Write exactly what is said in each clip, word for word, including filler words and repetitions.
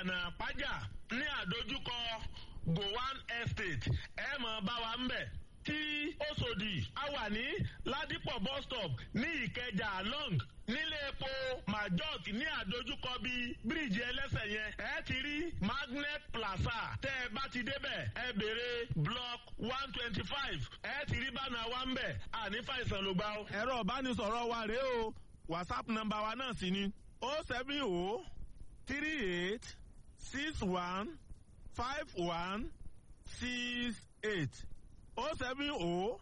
Ìyànà Àpájà ní àdójúkọ Gowan Estate, ẹ mọ̀ bá wa ń bẹ̀. Tí Òṣòdì, a wà ní Ládìpọ̀ bus stop ní Ìkẹjà long, nílé epo Majok ní àdójúkọ bíi bíríìjì ẹlẹ́sẹ̀ yẹn, ẹ ti rí Magnet Plaza. Tẹ́ ẹ bá ti débẹ̀, ẹ béèrè block one twenty five, ẹ ti rí bánà wa ń bẹ̀. Àní fàìsàn ló gbà ó. Ẹ̀rọ ìbánisọ̀rọ̀ wa rèé o, WhatsApp nọ́mbà wa náà sì ni o seven o three eight six one five one six eight, o seven o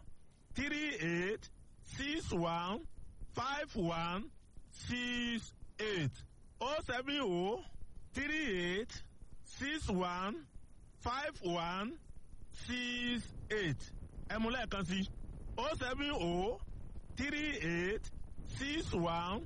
three eight six one five one six eight, o seven o three eight six one five one six eight. Ẹ mú lẹ́ẹ̀kan sí, o seven o three eight six one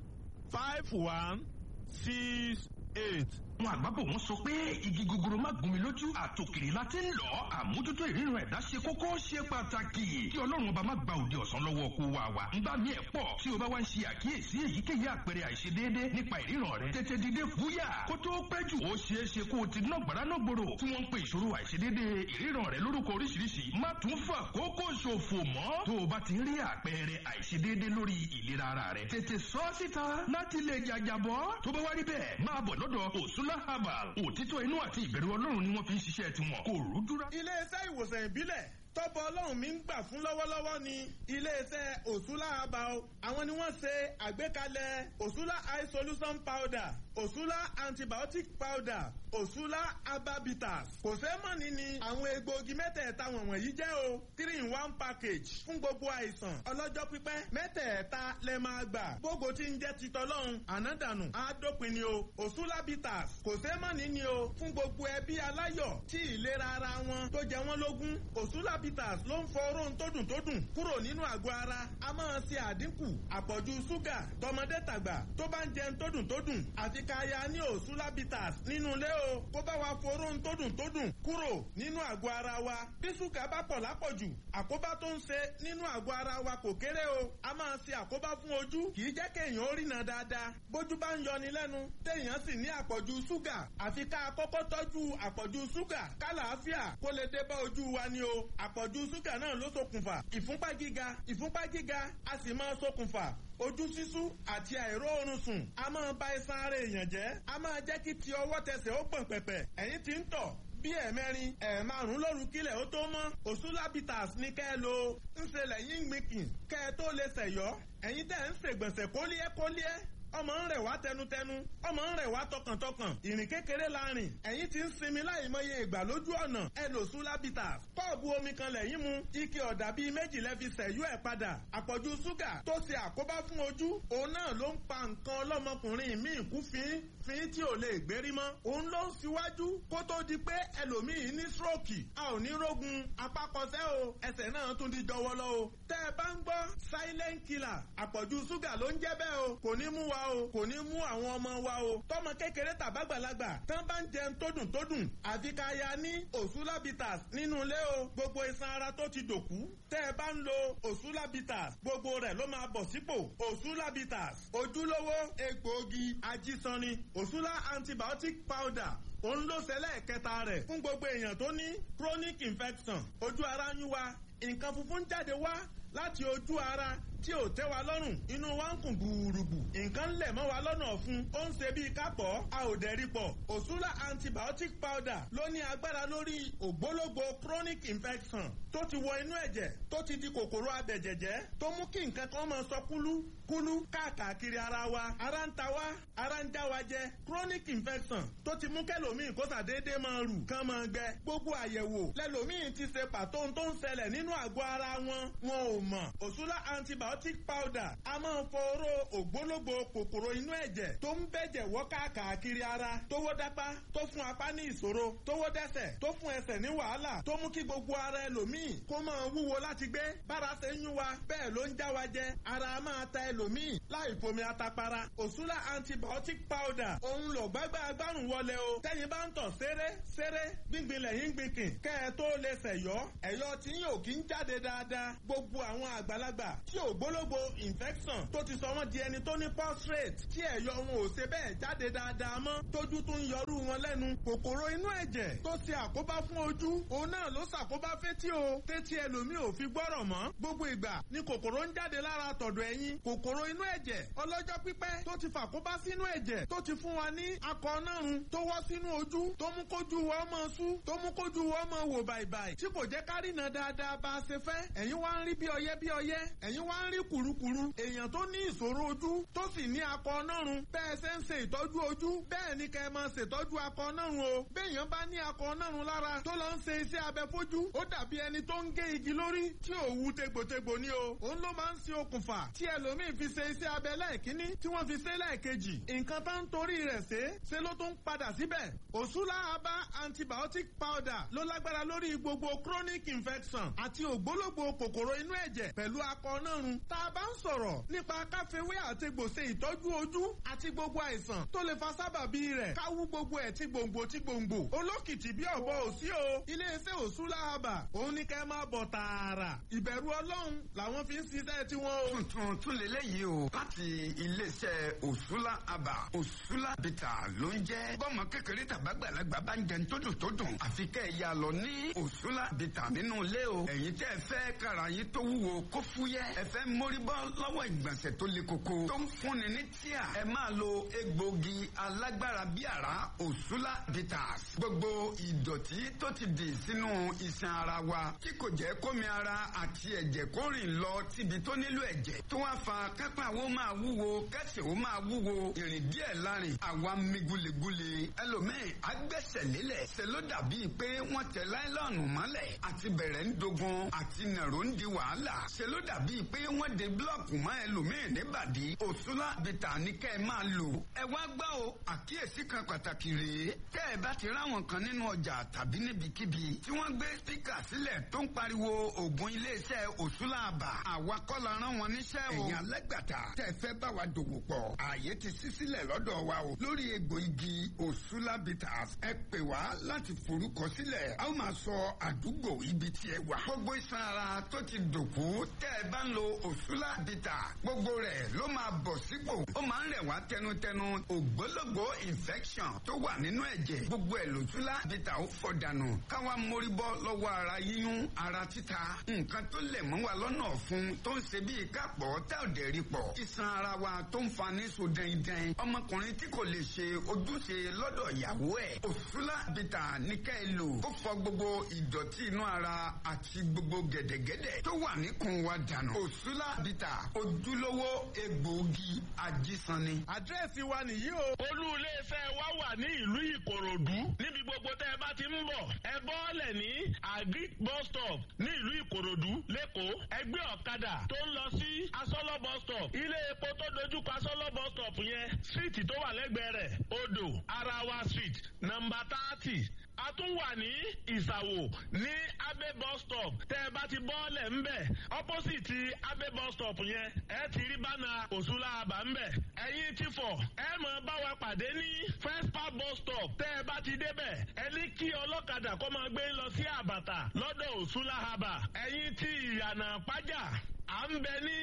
five one six eight. Àwọn àgbàbọ̀ wọn sọ pé igi gogoro má gún mi lójú, àtòkèrè la ti ń lọ. Àmójútó ìríran ẹ̀dá ṣe kókó, ṣe pàtàkì. Kí Ọlọ́run Ọba má gba òde ọ̀sán lọ́wọ́ kó wa wa. Ń bá mi ẹ̀ pọ̀ tí o bá wá ń ṣe àkíyèsí èyíkéyìí àpẹẹrẹ àìṣedéédé nípa ìríran rẹ, tètè dìde fúyà kó tó pẹ́ jù. Ó ṣeé ṣe kó o ti ná gbàrà náà gbòòrò tí wọ́n ń pe ìṣòro àìṣedéédé ìríran rẹ lórúkọ oríṣiríṣi. Má tún fà kókó ṣòfò mọ́. Tó o bá ti rí àpẹẹrẹ àìṣedéédé lórí ìlera ara rẹ, tètè sọ ọ́ síta láti lè jàjàbọ́. Tó bá wá rí bẹ́ẹ̀, máa bọ̀ lọ́dọ̀ Òsúlá Herbal. Òtítọ́ inú àti ìbẹ̀rù Ọlọ́run ni wọ́n fi ń ṣiṣẹ́ tiwọn, kò rúdúrà. Iléeṣẹ́ ìwòsàn ìbílẹ̀ tọ́bọ̀ Ọlọ́run mi ń gbà fún lọ́wọ́lọ́wọ́ ni iléeṣẹ́ Òṣùlá Herbal. Àwọn ni wọ́n ṣe àgbékalẹ̀ Òṣùlá Eye Solution Powder, Òṣùlá Antibiotic Powder, Òṣùlá Ababitas. Kò sẹ́mọ̀nì ni àwọn egbòogi mẹ́tẹ̀ẹ̀ta wọ̀nyí jẹ́ o. Three in one package fún gbogbo àìsàn ọlọ́jọ́ pípẹ́. Mẹ́tẹ̀ẹ̀ta lẹ máa gbà. Gbogbo tí ń jẹ́ ti tọ́lọ́run ànádànù àádópin ni o. Òṣùlá Bitters, kò sẹ́mọ̀nì ni o fún gbogbo ẹbí aláyọ̀ tí ìlera ara wọn tó jẹ wọ́n lógún. Òṣùlá Bitters ló ń fọ oró tó dùn tó dùn kúrò nínú àgọ́ ara. A máa ṣe àdínkù àpọ̀jù ṣúgà. Tọmọdé tàgbà tó bá ń jẹun tó dùn tó dùn, àfi ká ya ní Òṣùlá Bitters nínú ilé o, kó bá wa foró tó dùn tó dùn kúrò nínú àgọ́ ara wa. Bí ṣúgà bá pọ̀ lápọ̀jù, àkóbá tó ń ṣe nínú àgọ́ ara wa kò kéré o. A máa ṣe àkóbá fún ojú, kì í jẹ́ kéèyàn ó rìnà dáadáa. Bójú bá ń yọni lẹ́nu, téèyàn sì ní àpọ̀jù ṣúgà, àfi ká kọ́kọ́ tọ́jú àpọ̀jù ṣúgà kálàáfíà kó lè dé bá ojú wa ni o. Àpọ̀jù ṣúgà náà ló ṣokùnfà ìfúnpá gíga. Ìfúnpá gíga a sì máa ṣokùnfà ojú ṣíṣú àti àìróorun sùn. A máa ba iṣan ara èèyàn jẹ́, a máa jẹ́ kí ti ọwọ́ tẹsẹ̀ ó gbọ̀n pẹ̀pẹ̀. Ẹ̀yìn tí ń tọ̀ bí ẹ̀ẹ̀mẹrin, ẹ̀ẹ̀márùn lóru kílẹ̀ ó tó mọ́, Òṣùlá Bitters ní kẹ́ ẹ lo. Ń ṣe lẹ́yìn gbìnkìn kẹ́ ẹ tó lè ṣẹ̀yọ́. Ẹ̀yin tẹ́ ń ṣègbọ̀nsẹ̀ kólíẹ́ kólíẹ́, ọmọ ń rẹ̀ wá tẹnutẹnu, ọmọ ń rẹ̀ wá tọkàntọkàn, ìrìn kékeré la rìn, ẹ̀yin ti ń sinmi láìmọye ìgbà lójú ọ̀nà, ẹ lò Sula Bitters. Kọ́ọ̀bù omi kan lẹ́yìn mu, ike ọ̀dà bíi méjì lẹ́ fi sẹ̀yú ẹ̀ padà. Àpọ̀jù ṣúgà tó ṣe àkóbá fún ojú, òun náà ló ń pa nǹkan ọlọ́mọkùnrin míì kú fín fín tí ò lè gbérí mọ́. Òun ló ń ṣíwájú kó tó di pé ẹlòmíì ní stroke. A ò ní rógun apákọsẹ́ o, ẹsẹ̀ náà tún di jọwọ́lọ́ o. Tẹ́ ẹ bá ń gbọ́ silent killer, àpọ̀jù ṣúgà ló ń jẹ́ bẹ́ẹ̀ o. Kò ní mú wa o, kò ní mú àwọn ọmọ wa o. Tọmọ kékeré tàbágbàlagbà tán bá ń jẹun tó dùn tó dùn, àfi ká ya ní Òṣùlá Bitters nínú ilé o. Gbogbo iṣan ara tó ti dòkú, tẹ́ ẹ bá ń lo Òṣùlá Bitters, gbogbo rẹ̀ ló máa bọ̀ sípò. Òṣùlá Bitters, ojúlówó egbòogi ajísanni. Òṣùlá Antibiotic Powder, òun ló ṣẹlẹ̀ kẹta rẹ̀ fún gbogbo èèyàn tó ní chronic infection. Ojú ara ń yún wa, nǹkan funfun jáde wá láti ojú ara tí ò tẹ́ wa lọ́rùn, inú wa ń kùn gbùrùgbù, nǹkan ń lẹ̀ mọ́ wa lọ́nà ọ̀fun, ó ń ṣe bíi kápọ̀, a ò dẹ̀rí pọ̀. Òṣùlá Antibiotic Powder ló ní agbára lórí ògbólógbò chronic infection tó ti wọ inú ẹ̀jẹ̀, tó ti di kòkòrò abẹ̀jẹ̀jẹ̀, tó mú kí nǹkan kan máa sọ kúlú kúlú káàkiri ara wa. Ara ń ta wá, ara ń já wa jẹ. Chronic infection tó ti mú kẹlòmíì kó sàdédé máa rù kán máa gbẹ. Gbogbo àyẹ̀wò lẹlòmíì ti ṣe pàtó ohun tó ń ṣẹlẹ̀ nínú àgọ́ ara wọn, wọn ò mọ̀. Òṣùlá Antibiotic Powder a máa fọ oró ògbólógbò kòkòrò inú ẹ̀jẹ̀ tó ń bẹ̀jẹ̀ wọ́ káàkiri ara, tó wó dápá, tó fún apá ní ìṣòro, tó wó dẹ́sẹ̀, tó fún ẹsẹ̀ ní wàhálà, tó mú kí gbogbo ara ẹlòmíì kó máa wúwo láti gbé. Bára ṣe ń yún wa, bẹ́ẹ̀ ló ń já wa jẹ. Ara máa ta ẹlòmíì láì fomi atapara. Òṣùlá Antibiotic Powder, òun lò gbágbá agbárùn wọlé o. Tẹ́yin bá ń tọ̀ séré séré, gbíngbin lẹ́yìn gbìnkìn kẹ́ ẹ tó lè ṣẹ̀yọ́, ẹ̀yọ́ tí yóò kí ń jáde dáadáa. Gbogbo àwọn àgbàlagbà tí ò ògbólógbò infection tó ti sọ wọ́n di ẹni tó ní prostate tí ẹ̀yọ wọn ò ṣe bẹ́ẹ̀ jáde dáadáa mọ́, tójú tó ń yọrú wọn lẹ́nu. Kòkòrò inú ẹ̀jẹ̀ tó ṣe àkóbá fún ojú, òun náà ló ṣàkóbá fétí o, tétí ẹlòmíì ò fi gbọ́rọ̀ mọ́. Gbogbo ìgbà ni kòkòrò ń jáde lára tọ̀dọ̀ ẹ̀yìn. Kòkòrò inú ẹ̀jẹ̀ ọlọ́jọ́ pípẹ́ tó ti fàkóbá sínú ẹ̀jẹ̀, tó ti fún wa ní akọ nárun tó wọ́ sínú ojú, tó mú kójú wa ọmọ sú, tó mú kójú wa ọmọ wò bàìbàì, tí kò jẹ́ kárìnà dáadáa bá a ṣe fẹ́. Ẹ̀yin wá ń rí bí ọyẹ́ bí ọyẹ́, ẹ̀yin wá ń rí kùrukùru. Èèyàn tó ní ìṣòro ojú tó sì ní akọ nárun, bẹ́ẹ̀ ṣe ń ṣe ìtọ́jú ojú, bẹ́ẹ̀ ni kẹ́ ẹ máa ṣètọ́jú akọ nárun o. Béèyàn bá ní akọ nárun lára tó lọ ń ṣe iṣẹ́ abẹ fojú, ó dàbí ẹni tó ń gé igi lórí tí ò wú tegbòtegbò ni o. Òun ló máa ń ṣe okùnfà tí ẹlòmíì fi ṣe iṣẹ́ abẹ lẹ́ẹ̀kínní, tí wọ́n fi ṣe lẹ́ẹ̀kejì. Nǹkan tá ń torí rẹ̀ ṣe ṣe ló tún padà síbẹ̀. Òṣùlá Aba antibiotic powder ló lágbára lórí gbogbo chronic infection àti ògbólógbò kòkòrò inú ẹ̀jẹ̀ pẹ̀lú akọ nárun. Tá a bá ń sọ̀rọ̀ nípa káfíwé àtegbò ṣe ìtọ́jú ojú àti gbogbo àìsàn tó lè fa sábàbí rẹ̀, káwú gbogbo ẹ̀ tí gbòǹgbò tí gbòǹgbò. Olókìtì bí ọ̀bọ òsí o. Iléeṣẹ́ Òṣùlá Aba, òun ní kẹ́ máa bọ̀ tààrà. Ìbẹ̀rù Ọlọ́run làwọn fi ń ṣiṣẹ́ tiwọn o. Tuntun tún lélẹ́yìí o, láti iléeṣẹ́ Òṣùlá Aba, Òṣùlá Bìtà ló ń jẹ́. Bọ́mọ kékeré tàbágbàlagbà bá ń jẹun tó dùn tó dùn, àfi kẹ́ ẹ̀ yà lọ ní Òṣùlá Bìtà nínú ilé o. Ẹ̀yin tẹ́ ẹ fẹ́ kára yín tó wúwo kó fúyẹ́, ẹ fẹ́ mórí bọ́ lọ́wọ́ ìgbọ̀nsẹ̀ tó le koko tó ń fúnni ní tíà, ẹ máa lo egbògi alágbára bí àrá Òṣùlá Bitters. Gbogbo ìdọ̀tí tó ti dì sínú iṣan ara wa tí kò jẹ́ kómi ara àti ẹ̀jẹ̀ kó rìn lọ síbi tó nílò ẹ̀jẹ̀, tó wá fa kápá wo máa wúwo, kẹsẹ̀ wo máa wúwo, ìrìn díẹ̀ lárin àwa mi gulegule. Ẹlòmíì agbẹ́sẹ̀ lélẹ̀, ṣe ló dàbí pé wọ́n tẹ láìlọ́ọ̀nù mọ́lẹ̀, àti bẹ̀rẹ̀ ń dogun, àti nàró ń di wàhálà, ṣe ló dàbí pé wọ́n de búlọ̀kù mọ́ ẹlòmíì níbàdí. Òṣùlá Bìtà ní kẹ́ ẹ máa lò. Ẹ wá gbọ́ o, àkíyèsí kan pàtàkì rèé. Tẹ́ ẹ bá ti ráwọn kan nínú ọjà tàbí níbikíbi tí wọ́n gbé spíkà sílẹ̀ tó ń pariwo ògùn iléeṣẹ́ Òṣùlá Aba, àwa kọ́ la rán wọn níṣẹ́ o. Ẹ̀yin alágbàtà tẹ́ ẹ fẹ́ bá wa dòwò pọ̀, ààyè ti ṣí sílẹ̀ lọ́dọ̀ wa o. Lórí egbò igi Òṣùlá Bitters, ẹ pè wá láti forúkọ sílẹ̀. A ó máa sọ àdúgbò ibi tí ẹ wà. Gbogbo iṣan ara tó ti dòkú, tẹ́ ẹ bá ń lo Òṣùlá Bitters, gbogbo rẹ̀ ló máa bọ̀ sípò. Ó máa ń rẹ̀ wá tẹnutẹnu. Ògbólógbò infection tó wà nínú ẹ̀jẹ̀, gbogbo ẹ̀ lòṣùlá Bitters ó fọ̀ dànù. Káwa mórí bọ́ lọ́wọ́ ara yíyún, ara títa, nǹkan tó lẹ̀ mọ́ wa lọ́nà ọ̀fun tó ń ṣe bíi kápọ̀ tá ò dẹ̀ rí pọ̀. Iṣan ara wa tó ń fa ní so dẹ́ndẹ́n. Ọmọkùnrin tí kò lè ṣe ojúṣe lọ́dọ̀ ìyàwó ẹ̀, Òṣùlá Bitters ní ká ẹ lò. Ó fọ gbogbo ìdọ̀tí inú ara àti gbogbo gẹ̀dẹ̀gẹ̀dẹ̀ tó wà níkùn wa dànù. Òṣùlá Bitters, ojúlówó egbòogi ajísanni. Àdírẹ́sì wa nìyí o. Olú iléeṣẹ́ wa wà ní ìlú Ìkòròdú. Níbi gbogbo tẹ́ ẹ bá ti ń bọ̀, ẹ bọ́ọ̀lẹ̀ ní Agric bus stop ní ìlú Ìkòròdú lẹ́kọ̀ọ́. Ẹgbẹ́ ọ̀kadà tó ń lọ sí Asọ́lọ́ bus stop, ilé epo tó dojúkọ Asọ́lọ́ bus stop yẹn, síìtì tó wà lẹ́gbẹ̀ẹ́ rẹ̀, Odò Arawa Street, nọ́mbà thirty. A tún wà ní Ìsàwò ní Abe bus stop. Tẹ́ ẹ bá ti bọ́ọ̀lẹ̀ ńbẹ̀, opposite Abe bus stop yẹn, ẹ ti rí bánà Òṣùlá Aba ńbẹ̀. Ẹ̀yin ti fọ̀, ẹ mọ̀ bá wa pàdé ní First Park bus stop. Tẹ́ ẹ bá ti débẹ̀, ẹ ní kí ọlọ́kadà kó máa gbé lọ sí Àbàtà lọ́dọ̀ Òṣùlá Aba. Ẹ̀yin ti Ìyànà Pájà, à ń bẹ ní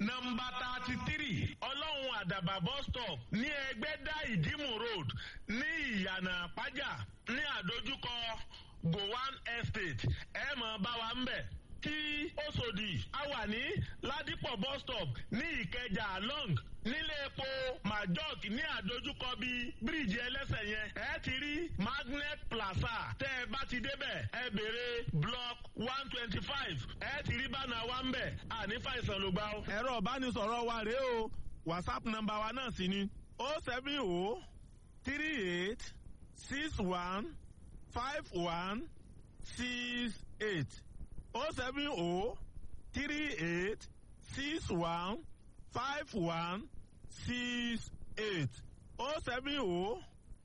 nọ́mbà thirty three Ọlọ́run Àdàbà bus stop ní Ẹgbẹ́dá Ìdímù road ní Ìyànà Pájà ní àdójúkọ Gowan Estate. Ẹ mọ̀ bá wa ń bẹ̀. Tí Òṣòdì, a wà ní Ládìpọ̀ bus stop ní Ìkẹjà long nílé epo Majok ní àdójúkọ bíi bíríìjì ẹlẹ́sẹ̀ yẹn. Ẹ ti rí Magnet Plaza. Tẹ́ ẹ bá ti débẹ̀, ẹ béèrè block one twenty five, ẹ ti rí bánà wa ń bẹ̀. Àní fàìsàn ló gbà ó. Ẹ̀rọ ìbánisọ̀rọ̀ wa rèé o. WhatsApp nọ́mbà wa náà sì ni o seven o three eight six one five one six eight, o seven o three eight six one five one six eight, o seven o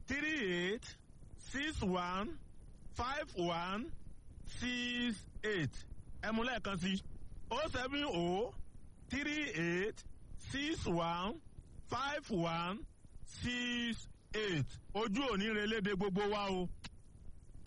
three eight six one five one six eight. Ẹ mú lẹ́ẹ̀kan sí o seven o three eight six one five one six eight. Ojú òní relédè gbogbo wa o.